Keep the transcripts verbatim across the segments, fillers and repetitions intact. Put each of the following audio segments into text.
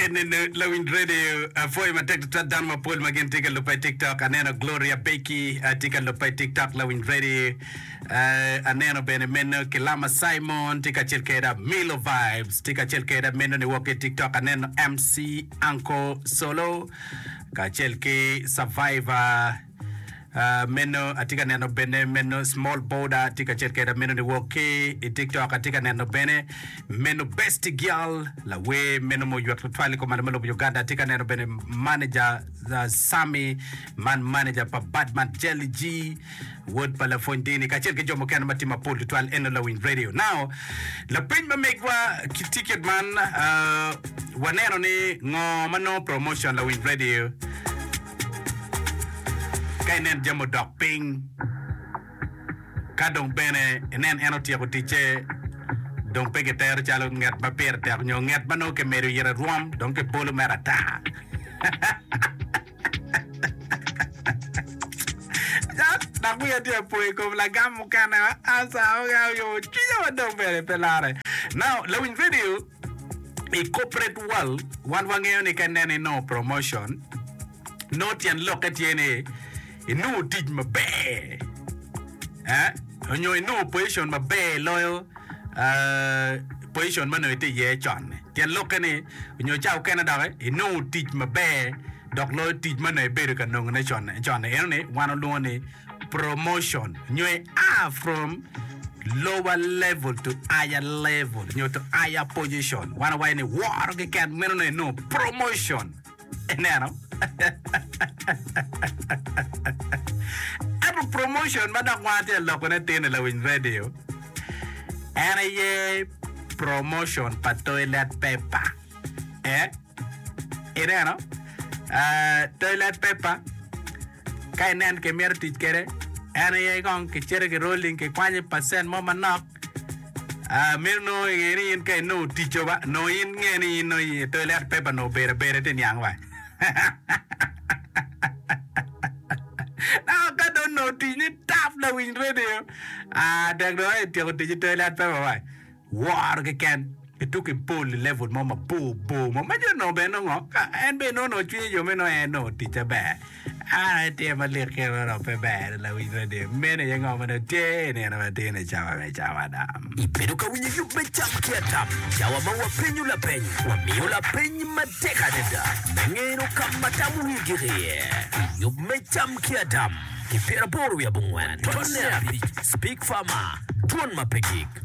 Ene lawiny radio apwoyo matek tutwal dano mapol ma gin tye ka luba i TikTok. Aneno Gloria Becky uh, tye ka luba i TikTok lawiny radio. Uh, aneno bene meno Kilama Simon tye kacel keda Milo Vibes tye kacel keda meno ni wok i TikTok. Aneno M C Uncle Solo kacel ki Survivor. Uh, meno atye ka neno bene meno Small Border tye kacel keda meno ni wok ki i TikTok. Atye ka neno bene meno Best Girl lawer meno mo ywek tutwal i kom malo me lobo Uganda. Atye ka neno bene manager uh, Sami man manager pa Badman Jelly G wod pa lapwony dini kacel ki jo mukene ma tye mapol tutwal. Eno lawiny radio. Now lapeny ma megwa ki ticket man, uh, waneno ni ngo ma nongo promotion lawiny radio ka inen jami odok piny, ka dong bene inen en otyeko ticce dong pe kitero calo nget ma pire tek nyo nget ma nongo kimedo ire rwom dong kibolo mere ata. Dok wiya tye apo i kom lagam mukene asa oyomo cwinya ma dong bene pe lare. Now lawiny radio, i corporate world wan wangeyo ni ka ineno inongo promotion, nongo tyen lokke tye ni inongo tic maber, eh? Onyo inongo position maber loyo uh, position ma nongo itye iye con. Tyen lokke ni onyo ca okene doki inongo tic maber dok loyo tic ma nongo ibedo ka nongone con con. Eno ni wan olwongo ni promotion nyo ia from lower level to higher level nyo to higher position. Wan owaco ni woro keken meno nongo inongo promotion. Ineno ento promotion ma dok wan atye ka lokone tye-ni lawiny radio en aye promotion pa toilet paper, eh ineno uh, toilet paper ka inen kimito tic kwede en aye kong kicito ki rolling kikwanyo percent mo manok. uh, meno nongo inge ni in ka inongo ticco ba nongo in nge ni in nongo toilet paper nongo obedo abeda tye niang ba. Now, ka dong nongo tic ni tap lawiny radio, ah, tek dong ityeko tic i toilet paper ba woro keken ituko i pol i level mo mabor bor mo ma jo nongo bene nongo ka en bene nongo nongo cwinye jo me nongo en nongo ticce ber. Ah, tye malik kene dong pe ber lawiny radio. Meno aye ngo ma dong tye i nino matin i cawa me cawa dam. Ibedo ka winyo yub me Cam ki Adam, cawa ma wapenyo lapeny, wamiyo lapeny matek adada me ngeno ka ma tam wigi iye. Yub me Cam ki Adam ki pyeraboro wiye abongwen tonne abic. Speak Farmer, dwon ma pe gik.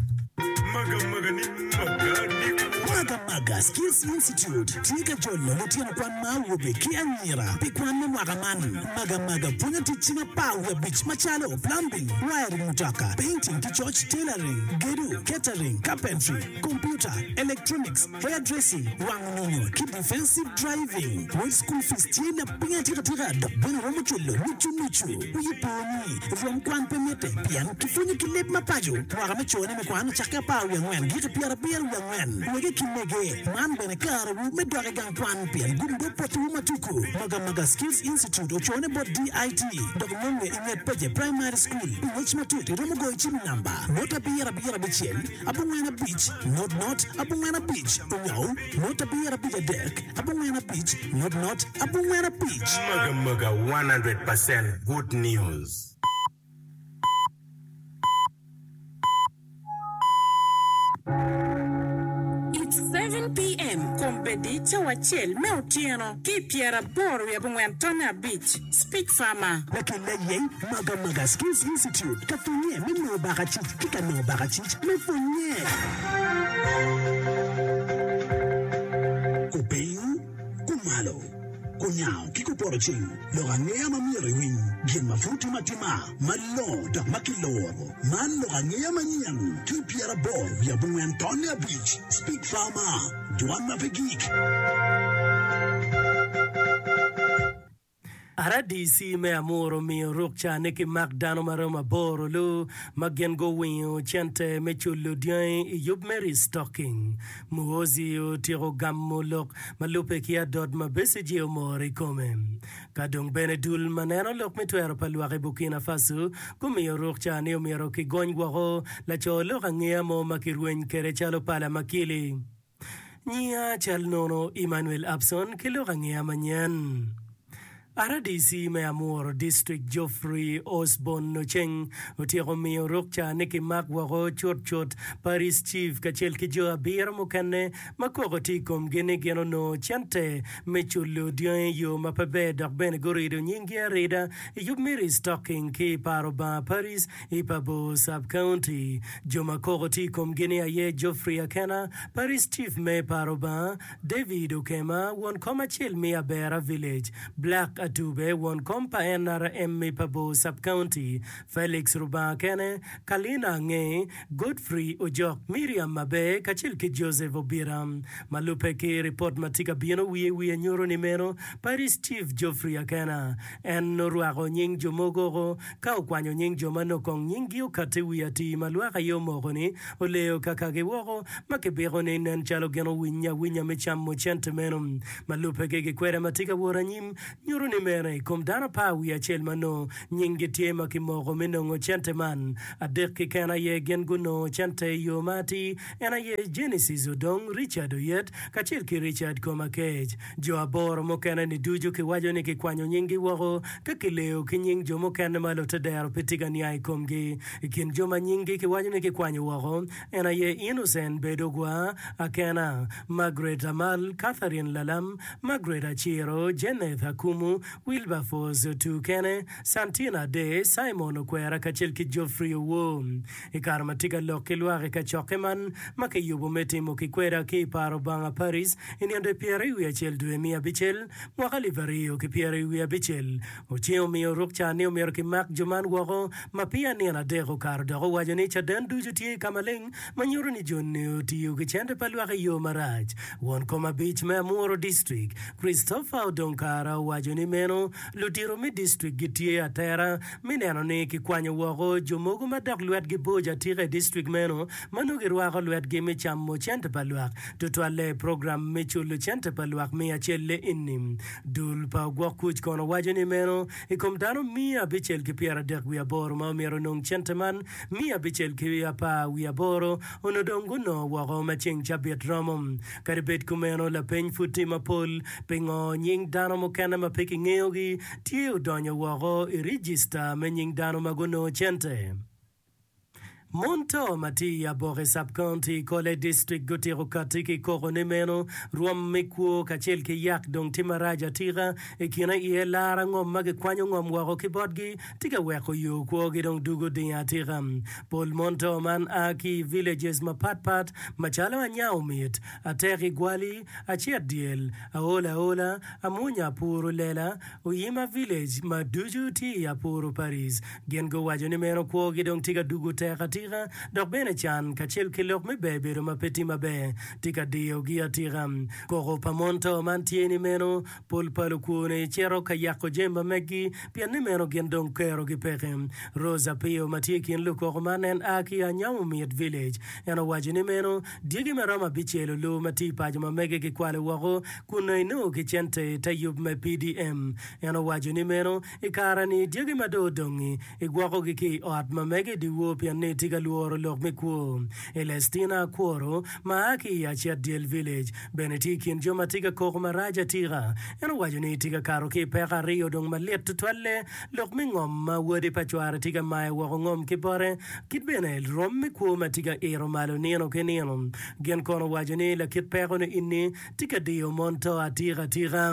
Maga maga ni maga ni. Maga Maga Skills Institute tye ka jolo lutino kwan ma awobe ki anyira pi kwan me mwaka man. Maga Maga pwonyo tic cing apar wiye abic macalo plumbing, wiring mutoka, painting ki coc, tailoring, gedo, catering, carpentry, computer, electronics, hairdressing, wango nyonyo ki defensive driving. Wel school fees tye lapiny atikatika dok bene romo culo nucu nucu. Wiyi po ni rwom kwan pe mitte pien kipwonyo ki leb mapaco. Mwaka me cone me kwan ocakke apar wiye angwen giki pyerabiro wiye angwen. Wege ki mege man bene karewu me dok i gang kwan pien gum do potowu matuku. Maga Maga Skills Institute ocone bot D I T dok nonge i nget Peje Primary School. Pi ngec matut iromo goyo cim i namba not abiro abiro abicel abongwen abic not not abongwen abic onyo not abiro abic adek abongwen abic not not abongwen abic. Maga Maga one hundred percent good news. It's seven p m. Kombeddi cawa acel me otyeno ki pyeraboro wiye abongwen tonne abic. Speak Farmer. Lakella yeng Maga Maga Skills Institute ka pwonye me nongo bakacic ki ka nongo bakacic me pwonye. Kupiny, kumalo, kunyango ki kupoto ceng, lok angeya ma myero iwiny, gin ma pud timo atima, malongo dok ma kiloro. Man lok angeya manyen ki pyeraboro wiye abongwen tonne abic. Speak Farmer, dwan ma pe gik. R D C me Amuru omiyo rukca ni kimak dano maromo aboro lu ma gin guwingo cente me culo dyangi i yub me restocking. Muhoozi otyeko gamo lok ma lube ki adot ma Besigye omoro i kome. Ka dong bene dul ma neno lok me twero pa lwak i Burkina Faso gumiyo rukca ni omyero kigony woko laco lok angeya mo ma kirweny kede calo pala makili. Nyiya cal nono Emmanuel Abson ki lok angeya manyen. RDC me Amuru District Geoffrey Osborn Oceng otyeko miyo rukca ni kimak woko cut cut Parish Chief kacel ki jo abiro mukene ma koko tye i komgi ni gin onongo cente me culo dyangi i yo ma pe ber dok bene gurido nyinggi arida i yub me restocking ki i paro Banga Parish i Pabor Sub-County. Jo ma koko tye i komgi ni aye Geoffrey Akena, Parish Chief me paro Banga, David Okema, won kom acel me Abera Village, Black Atube, won kom pa N R M i Pabor Sub-County, Felix Rubanga Kene, Kalina Ange, Godfrey Ojok, Miriam Maber kacel ki Joseph Obira. Ma lubbe ki ripot ma tye ka bino wiye wiye nyuto ni meno Parish Chief Geoffrey Akena en orwako nying jo mogo oko ka okwanyo nying jo ma nongo kong nyinggi okatti wi atir ma lwak aye omoko ni oleyo kakagi woko ma kibiko ni nen calo gin owiny awinya me camo cente meno. Ma lubbe ki gikweda ma tye ka wot anyim nyuto ni mere i kom dano apar wiye acel ma nongo nyinggi tye ma kimoko me nongo cente man, adek keken aye gin gunongo cente i yo ma atir, en aye Genesis Odong, Richard Oyet, kacel ki Richard Komakech. Jo aboro mukene-ni ducu kiwaco ni kikwanyo nyinggi woko ka kileyo ki nying jo mukene ma lutedero pe tye ka niang i komgi. I kin jo ma nyinggi kiwaco ni kikwanyo woko en aye Innocent Bedogwa Akena, Margaret Amal, Catherine Lalam, Margaret Aciro, Jeneth Akumu, Wilberforce Otukene, Santina Ade, Simon Okwera kacel ki Geoffrey Owor. I kare ma tye ka lok ki lwak i kacokke man ma kiyubo me timo kikweda ki i paro Banga Paris i nino pyeraryo wiye acel dwe me abicel mwaka alip aryo ki pyeraryo wiye abicel, Oceng omiyo rukca ni omyero kimak jo man woko ma peya nino adek okato dok owaco ni caden ducu tye ka maleng ma nyuto ni joni otiyo ki cente pa lwak i yo marac. Won kom abic me Amuru District, Christopher Odongkara owaco ni meno ludito me distrik gitye atera me neno ni kikwanyo woko jo mogo ma dok lwetgi boco atika i distrik meno ma nongo girwako lwetgi me camo cente pa lwak, tutwalle i program me culo cente pa lwak miya acel-le eni. Dul pa ogwok kuc kono waco ni meno i kom dano miya abicel ki pyeradek wiye aboro ma omyero onong cente man, miya abicel ki apar wiye aboro onongo dong gunongo woko ma ceng cabit romo. Kadi bed kumeno, lapeny pud tye mapol, Pingo nying dano mukene ma pe kingeyogi tye odonyo woko i rijista me nying dano ma gunongo cente? Mon to ma tye i Aboke Sub-County, Kole District gutyeko katti ki koko ni meno rwom me kwo kacel ki yak dong tye marac atika. I kine iye lara ngom ma gikwanyo ngom woko ki botgi tye ka weko yo kwogi dong dugo dingo atika. Pol mon to man a ki i villages mapat pat macalo Anyaomit, Atek Igwali, Acet Dyel, Aola Aola, Amunya Apuru Lela, Oyima Village ma ducu tye i Apuru Parish. Gin guwaco ni meno kwogi dong tye ka dugo tek atika dok bene can kacel ki lok me ber bedo ma pe tye maber tye ka diyogi atika. Koko pa mon to man tye ni meno pol pa lukwoni cito ka yako jami ma meggi pien ni meno gin dong kerogi peke. Rose Apio ma tye i kin lukoko man en a ki Anyamomit Village. En owaco ni meno dyegi ma romo abicel olu ma tye i paco ma mege kikwalo woko kun nongo inongo ki cente i te yub me P D M. En owaco ni meno i kare-ni dyegi ma dong odong-ngi igwokogi ki i ot ma mege i dyewor pien ni tye ka lworo lok me kwo. Elestina Akworo ma a ki i Acet Dyel Village bene tye i kin jo ma tye ka koko marac atika. En owaco ni tye ka kato ki i peko aryo dong malit tutwalle, lok me ngom ma wode pa cware tye ka mayo woko ngom ki bote ki bene rwom me kwo ma tye ka ito malo nino ki nino. Gin kono owaco ni lakit peko-ni inni tye ka diyo mon to atika atika.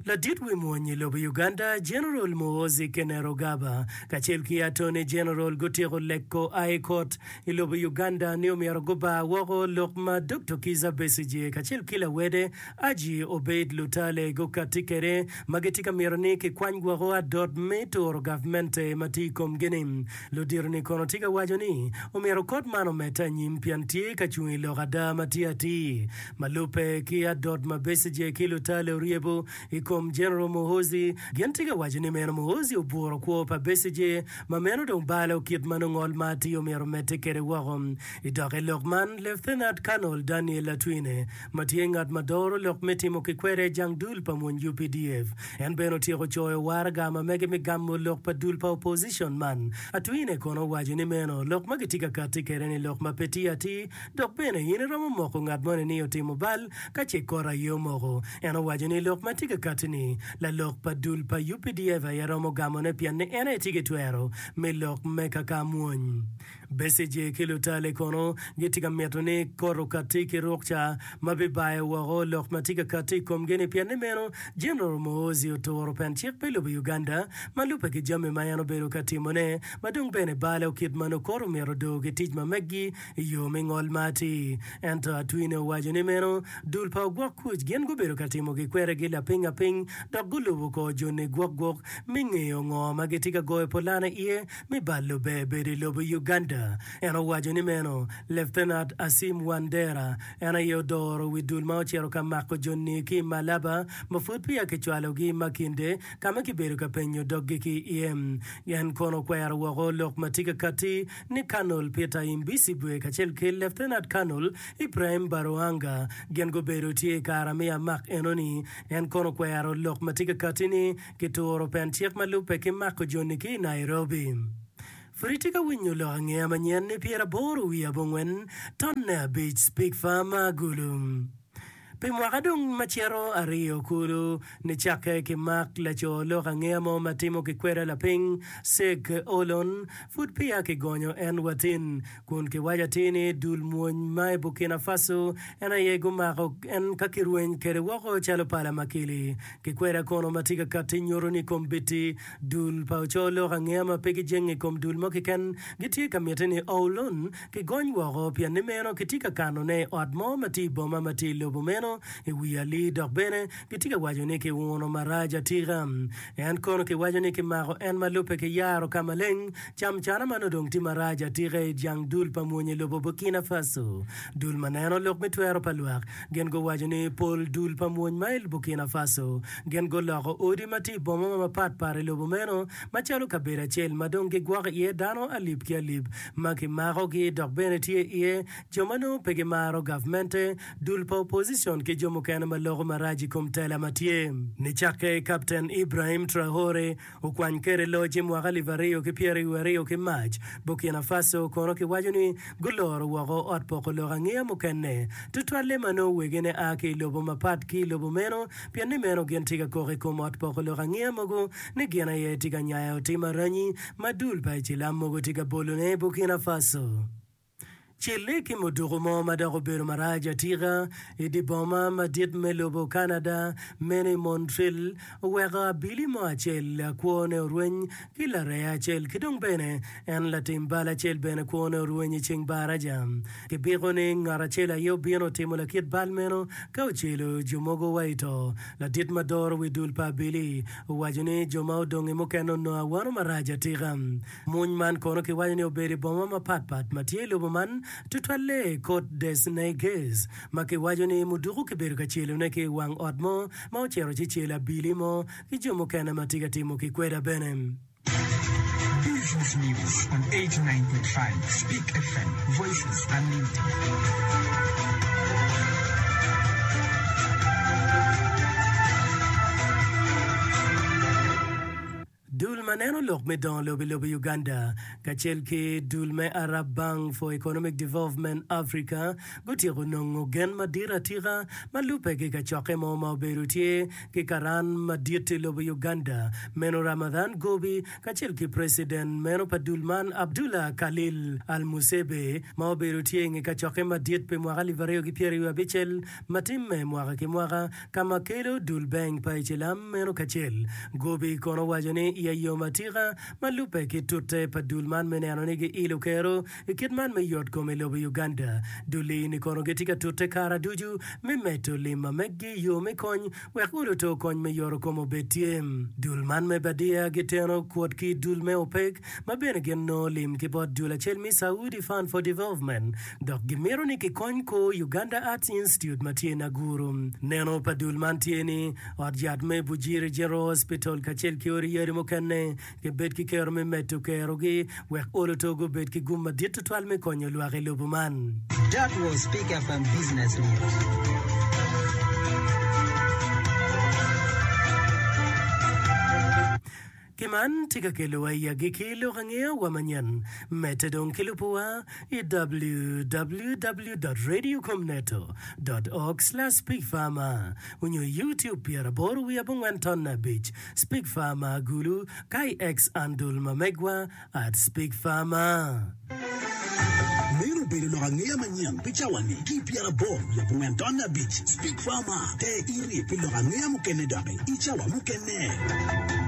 Ladit wi mwony i lobo Uganda, General Muhoozi Kainerugaba kacel ki Attorney General gutyeko leko High Court i lobo Uganda ni omyero gubar woko lok ma Doktor Kizza Besigye kacel ki lawede Haji Obeid Lutale gukatti kwede ma gitye ka mito ni kikwany woko adot me turo gavmente ma tye i komgi-ni. Ludito-ni kono tye ka waco ni omyero kot man omedde anyim pien tye ka cung i lok ada ma tye atir ma lubbe ki adot ma Besigye ki Lutale oryebo i kom General Muhoozi gin tye ka waco ni meno Muhoozi oburo kwo pa Besigye ma meno dong balo kit ma nongo ngol ma atir omyero omedde kwede woko. I dok i lok man, Lieutenant Colonel Daniel Atwine ma tye ngat ma doro lok me timo ki kwede jang dul pa mwony U P D F en bene otyeko coyo waraga ma mege me gamo lok pa dul pa opposition man. Atwine kono owaco ni meno lok ma gitye ka katti kwede ni lok ma pe tye atir dok bene in iromo moko ngat moni ni otimo bal ka ce kot aye omoko. En owaco ni lok ma tye ka katti ni lalok pa dul pa U P D F aye romo gamone pien ni en aye tye ki twero me lok me kaka mwony. Besigye ki Lutale kono gitye ka mito ni kot okatti ki rukca ma bibayo woko lok ma tye ka katti i komgi-ni pien ni meno General Muhoozi oturo pen cik pi lobo Uganda ma lubbe ki jami ma en obedo ka timone ma dong bene balo kit ma nongo kot omyero odor ki tic ma meggi i yo me ngol ma atir. Ento Atwine owaco ni meno dul pa ogwok kuc gin gubedo ka timo gikweregi lapiny apiny dok gulubo kor joni gwok gwok me ngeyo ngo ma gitye ka goyo pulane iye me balo ber bedo i lobo Uganda. En owaco ni meno Leftenat Asim Wandera en aye odoro wi dul ma ocito ka mako joni ki i Malaba ma pud peya kicwalogi i Makinde ka ma kibedo ka penyo doggi ki iye. En kono okwero woko lok ma tye ka katti ni Colonel Peter Imbisibwe kacel ki Lieutenant Colonel Ibrahim Baruhanga gin gubedo tye i kare me amak enoni. En kono okwero lok ma tye ka katti ni kituro pen cik ma lubbe ki mako joni ki i Nairobi. Pud itye ka winyo lok angeya manyen ni pyeraboro wiye abongwen tonne abic Speak Farm Agulu. Pi mwaka dong ma cito aryo kulu, nicakke ki mak laco lok angeya mo ma timo ki kweda lapiny, Seg Olon, pud peya kigonyo en watin, kun kiwaco atir ni dul mwony ma i Burkina Faso en aye gumako en ka kirweny kwede woko calo pala makili. Ki kweda kono ma tye ka katti nyuto ni kombeddi dul pa oco lok angeya ma pe gijenge i kom dul mo keken gitye ka mitte ni Olon Kigony woko pien ni meno kitye ka kanone i ot mo ma tye i boma ma tye i lobo meno i wi alii dok bene gitye ka waco ni kiuno marac atika. En kono kiwaco ni kimako en ma lubbe ki yaro ka maleng camcana ma nongo dong tye marac atika i jang dul pa mwony i lobo Burkina Faso. Dul ma neno lok me twero pa lwak gin guwaco ni pol dul pa mwony ma i Burkina Faso gin guloko odi ma tye i boma ma mapat pat i lobo meno macalo kabedo acel ma dong gigwoko iye dano alip ki alip ma kimakogi dok bene tye iye jo ma nongo pe gimaro gavmente, dul pa opozicon ki jo mukene ma loko marac i kom tela ma tye. Nicakke Kapten Ibrahim Traore okwany kwede loc i mwaka alip aryo ki pyeraryo aryo ki Mac, Burkina Faso kono kiwaco ni guloro woko ot poko lok angeya mukene, tutwalle ma nongo wegine a ki i lobo mapat ki i lobo meno pien ni meno gin tye ka kok i kom ot poko lok angeya mogo ni gin aye tye ka nyayo tim aranyi ma dul pa Icilam mogo tye ka bolone i Burkina Faso. Celle ki muduku mo ma dok obedo marac atika i dye boma madit me lobo Canada, meno i Montreal, oweko abili mo acel kwone orweny ki laree acel ki dong bene en latim bal acel bene kwone orweny i ceng baraja. Kibiko ni ngat acel aye obino otimo lakit bal meno ka ocelo jo mogo wa i to. Ladit ma doro wi dul pa abili owaco ni jo ma odong-ngi mukene onongo awano marac atika. Muny man kono kiwaco ni obedo i boma mapat pat ma tye i lobo man, tutwalle i Côte des Neiges, ma kiwaco ni muduku kibedo ka celone ki i wang ot mo ma ocito ci celo abili mo ki jo mukene ma tye ka timo kikweda bene. Business News on eighty nine point five Speak F M, Voices Unlimited. Dul ma neno lok me dongo lobo i lobo Uganda kacel ki dul me Arab Bank for Economic Development Africa gutyeko nongo gen madit atika ma lubbe ki kacokke mo ma obedo tye ki karan madit i lobo Uganda meno Ramadhan Gobi kacel ki Preciden meno pa dul man Abdullah Khalil Al-Musebe ma obedo tye inge kacokke madit pi mwaka alip aryo ki pyeraryo abicel ma timme mwaka ki mwaka ka ma kelo dul bank pa Icilam meno kacel. Gobi kono owaco ni iye yom atika ma lubbe ki tute pa dul man me neno ni giilo kero i kit man me yot kom i lobo Uganda. Dul-li ni kono gitye ka tute kara ducu me medo lim ma meggi i yo me kony wek olo to kony me yoto kom obed tye. Dul man me Badia giteno kwot ki dul me OPEC ma bene gin nongo lim ki bot dul acel me Saudi Fund for Development dok gimito ni kikony kor Uganda Arts Institute ma tye i Naguru. Neno pa dul man tye ni ot yat me Bujiri General Hospital kacel ki odi yadi mukene gibed ki kero me medo kerogi wek olo to gubed ki gum madit tutwal me konyo lwak i lobo man. That was Speak F M Business News. Ki man tye ka kelowa i agikki lok angeya wa manyen. Medde dong ki lubowa i W W W dot radiocomneto dot org slash speakfarmer onyo i YouTube pyeraboro wiye abongwen tonne abic Speak Farmer Gulu ka i X andul ma megwa at Speak Farmer. Meno obedo lok angeya manyen pi cawa-ni ki i pyeraboro wiye abongwen tonne abic Speak Farmer. Te iri pi lok angeya mukene doki i cawa mukene.